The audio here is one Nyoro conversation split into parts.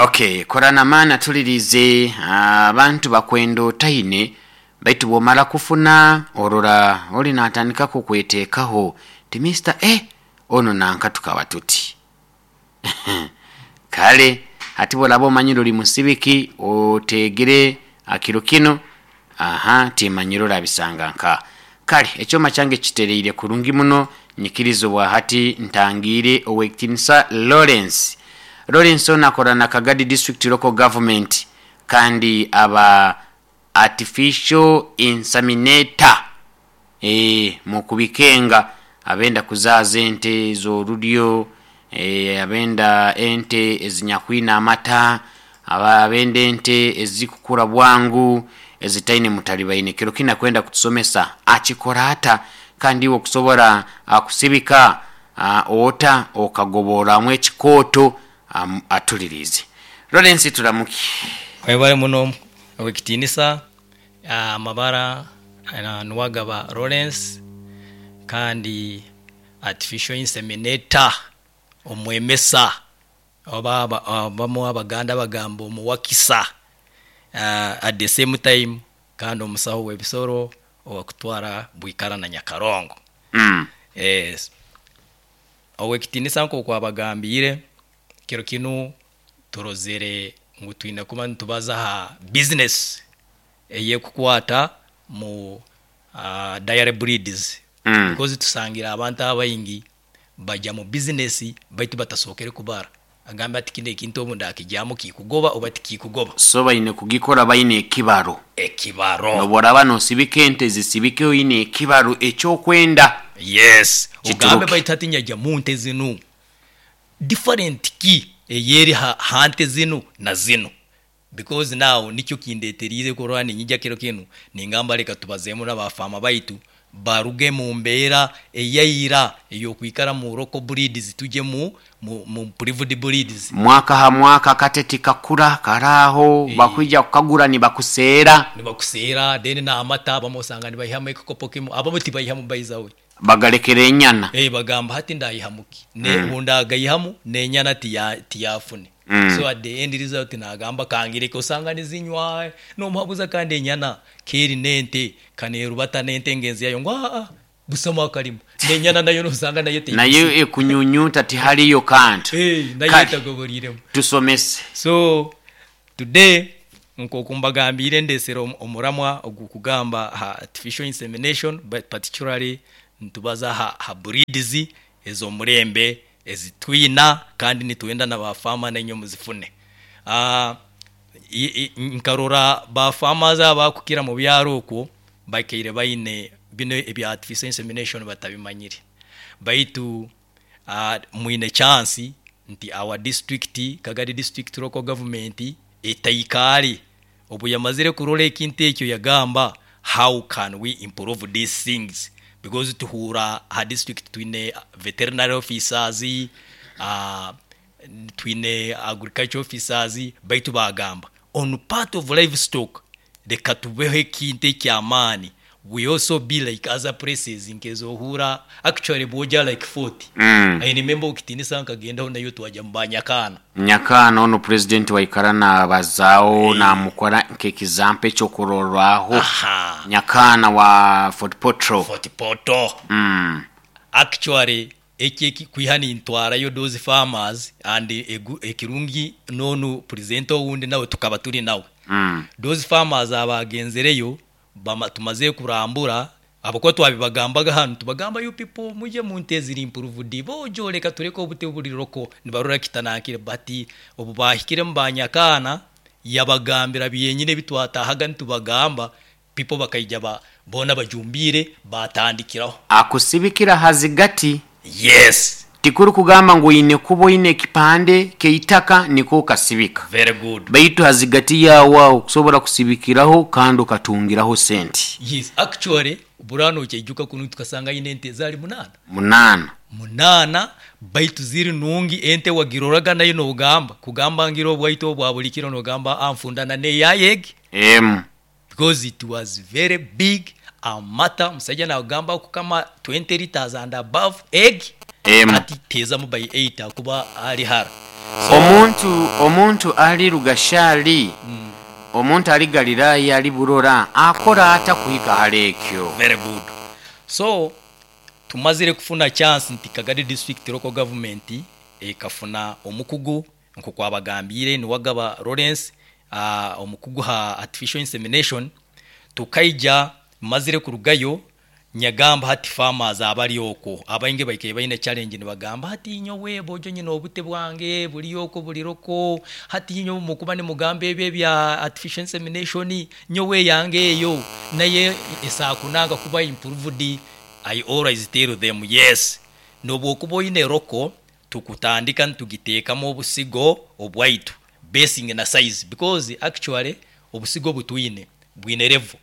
Okay, korana maani atulirize abantu bakwenda otaine, baitu bwomara kufuna orora oli natandika kukweteekaho ti Mr. Eh, ono nanka tukaba tuti. Kale hati bworaba omanyire ori musibiki oteegere akiro kinu, aha timanyire orabisanga nka. Kale ekyoma kyange kitereire kurungi muno, nyikiriza obwahati ntangiire Owekitinisa Lawrence. Lawrence ono akora na Kagadi District Local Government kandi aba Artificial Inseminator eeh mukubikenga abenda kuzaaza ente z'oruryo, abenda ente ezinyakwine amata, abenda ente ezikukura bwangu ezitaine mutalibaine. Kiro kinu akwenda kutusomesa akikora ata kandi iwe okusobora kusibika ota okagoborramu ekikooto atuliriize. Lawrence turamuki. Webale muno owekitiinisa. Amabara Nuwagaba Lawrence kandi Artificial Inseminator, omwemesa oba abamu Abaganda bagamba omuwakisa at the same time kandi omusaho w'ebisoro owakutwara Bwikara na Nyakarongo. Owekitiinisa nk'oku abagambiire, kiro kinu turozere ngu twine kuba nitubaza ha bizinesi ey'ekukwata mu dairy breeds because tusangire abantu abaingi bagya mu bizinesi baitu batasookere kubara. Agambe ati kinu ekintu obu ndakigyamu kikugoba oba tikikugoba. So baine kugikora baine ekibaro. Ekibaro. Nobu oraaba nosibika ente zisibike oine ekibaro ekyokwenda. Yes. Ogambe Kituruke. baitu hati nyagya mu nte zinu different ki eyeri ha nte zinu na zinu because now nikyo kindeteriire kurora ninyija kiro kinu ningamba leka tubazeemu na ba farmer baitu baruge mu mbeera eyaira eyokwikara mu local breeds tuje mu improved breeds. Mwaka ha mwaka akate tikakura karaho bakwija kukagura nibakuseera. Nibakuseera then n'amata abamu osanga nibaihamu ekikopo kimu abamu tibaihamu by the way. Bagalekera enyana. Bagamba hati ndaihamu ki? Obu ndagaihamu n'enyana tiyafune. So at the end result nagamba kangireke osanga nizinywa nomuhabuza kandi enyana keri n'ente kanerubata n'ente ngenzi yayo ngu aa busamu akalimu n'enyana nayo nosanga nayo Nayo teigusire. ekunyunyuta tihariyo kantu. Nayo Kale etagoboriiremu. tusomese. So today nk'oku mbagambiire ndesere omuramwa ogukugamba aha artificial insemination but particularly nitubaza aha breeds ez'omurembe ezi twina kandi nitwenda na ba farmer nainywe muzifune. Nkarora ba farmers abakukira mu byaro okwo bakaire baine binu ebya artificial insemination batabimanyire baitu mwine chance nti our district, Kagadi district local government etaikaare obu yamazire kurora ekintu ekyo yagamba how can we improve these things because tuhuura aha district twine veterinary officers, twine agriculture officers baitu bagamba on part of livestock Reka tubeho ekintu eky'amaani, we also be like other places nk'ezohuura actually bwogya like Fort, I remember okitinisa nkagendaho nayo twagya mu ba Nyakaana. Nyakaana onu Purezidenti waikara nabazaaho namukora nk'ekizampo ekyokurorwaho. Nyakaana wa Fort Portal. Fort Portal. Actually Eki eki kwiha nintwarayo those farmers and ekirungi n'onu presenter owundi nawe tukaba turi nawe. Those farmers abagenzereyo tumazire kurambura ahabw'okuba twabibagambaga hanu nitubagamba you people muje mu nte eziri improved bojo reka tureke obute oburi local nibarora kitanankire but obu bahikiremu ba Nyakaana yabagambira byenyini ebi twatahaga nitubagamba People bakaija ba boona bajumbiire baatandikiraho. Akusibikira ha zigati. Yes. Tikuri kugamba ngu oine kuba oine ekipande ky'eitaka nikwo okasibika. Very good. Baitu ha zigati yaawe aho kusobora kusibikiraho kandi okatungiraho sente. Yes, actually burano okyaijuka kunu tukasanga aine ente zaali munaana. Munaana. Munaana baitu ziri nungi ente wagiroraga nayo nogamba kugamba ngira obwaito obwa buli kiro nogamba anfundana neyaye egi. Emu. Because it was very big amata omusaija nagamba kukama 20 litres and above egg Emu. hati tezamu by 8 akuba ari hara. So, Omuntu ali Rugashali, omuntu ali Galilaya, ali Burora, akora ata kuhika hali ekyo? Very good. So tumazire kufuna chance nti Kagadi District Local Government ekafuna omukugu nkokwabagambire, Niwagaba Lawrence, omukugu ha artificial insemination. Tukaija mazire kurugayo nyagamba hati farmers abali okwo abaingi baikaire baine challenge, nibagamba hati nyowe bojo nyina obute bwange buli okwo buliroko, hati nyowe mukuba nimugamba ebyo ebya artificial insemination, nyowe yange eyo naye esakunanga kuba improved. I always tell them yes, nobwokuba oine roko, tukutandika nitugiteekamu obusigo obwaitu basing na size, because actually obusigo butwine bwine level,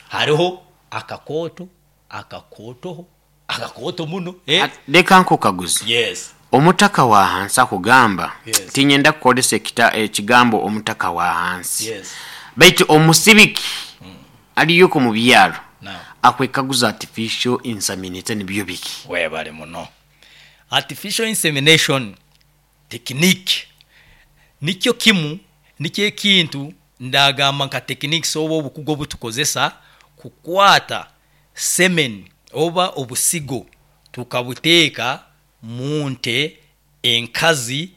hariho akakooto akakootoho akakooto muno, eh? Leka nkukaguze. Yes. Omutaka wa hansi akugamba, Yes. tinyenda kukozesa ekigambo omutaka wa hansi, Yes. baitu omusibiki aliyoko mu byaro Now. akwekaguza artificial insemination nibyo biki? Webale muno. Artificial insemination technique nikyo kimu, nikyo ekintu ndagamba nka techniques oba obukugu obutukozesa kukwata semen oba obusigo tukabuteeka mu nte enkazi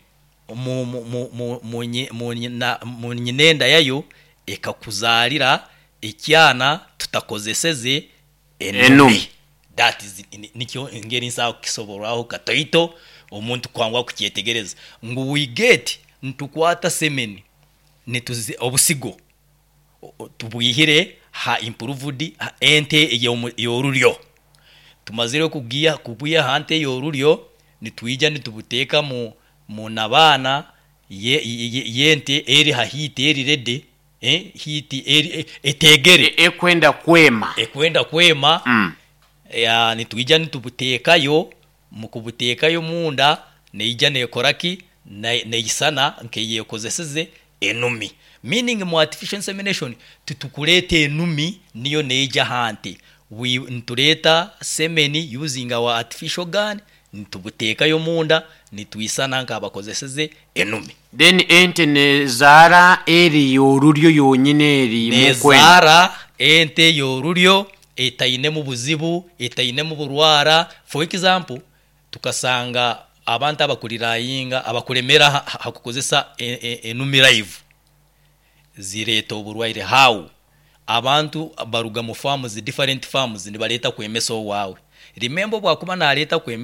mu nyinenda yayo ekakuzaalira ekyana tutakozeseze enumi. Enumi. That is nikyo engeri nsobola kukisoborraho katoito omuntu kwangwa kukyetegereza ngu we get nitukwata semen nituzi obusigo tubwihire ha improved ha ente ey'orulyo. Tumazire kugiya kubwiha ha nte ey'orulyo, nitwija nitubuteeka mu nabaana yente eri ha heat eri ready, heat eri etegere. Ekwenda kwema. Ekwenda kwema. Ya, nitwija nitubuteekayo, mukubuteekayo munda neija nekoraki, neisana nkeyekozeseze enumi, meaning mu artificial insemination titukuleeta enumi niyo neija hante, nituleeta semen using our artificial gun, nitubuteekayo munda nitwisana nkabakozeseze enumi. Then ente nezaara eri yorulyo yonyine eri mukwenda. Nezaara ente yorulyo etainemu buzibu, etainemu burwara. For example, tukasanga abantu abakulirayinga abakulemera hakukozesa enumi live zireeta oburwaire. How abantu baruga mu farms, different farms, nibaleta kwemesa owawe. Remember, bwakuba naleeta kwemesa.